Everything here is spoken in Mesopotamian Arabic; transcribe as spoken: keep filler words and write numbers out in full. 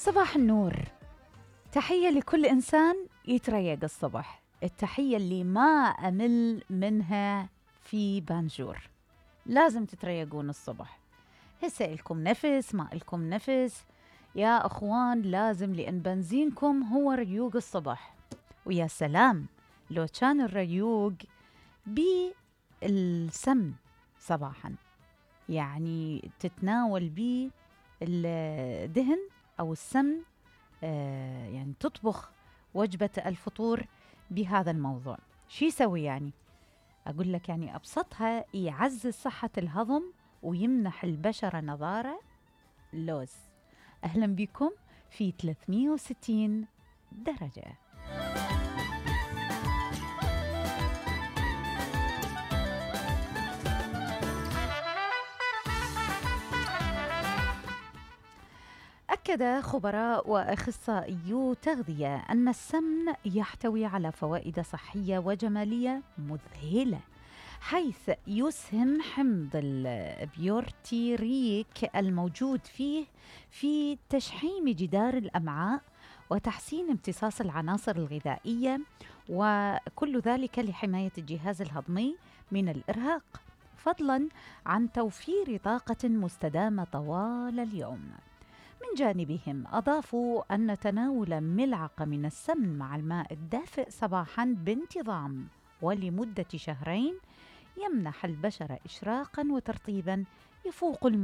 صباح النور. تحية لكل إنسان يتريق الصبح، التحية اللي ما أمل منها في بانجور. لازم تتريقون الصبح، هسه إلكم نفس ما إلكم نفس يا أخوان، لازم، لأن بنزينكم هو ريوق الصبح. ويا سلام لو كان الريوق بالسمن صباحا، يعني تتناول بيه الدهن أو السمن، آه يعني تطبخ وجبة الفطور بهذا الموضوع. شو يسوي يعني؟ أقول لك يعني أبسطها، يعزز صحة الهضم ويمنح البشرة نضارة. لوز. أهلا بكم في ثلاثمية وستين درجة. أكد خبراء وأخصائيو تغذية أن السمن يحتوي على فوائد صحية وجمالية مذهلة، حيث يسهم حمض البيورتيريك الموجود فيه في تشحيم جدار الأمعاء وتحسين امتصاص العناصر الغذائية، وكل ذلك لحماية الجهاز الهضمي من الإرهاق، فضلاً عن توفير طاقة مستدامة طوال اليوم. من جانبهم أضافوا أن تناول ملعقة من السمن مع الماء الدافئ صباحاً بانتظام ولمدة شهرين يمنح البشرة إشراقاً وترطيباً يفوق الم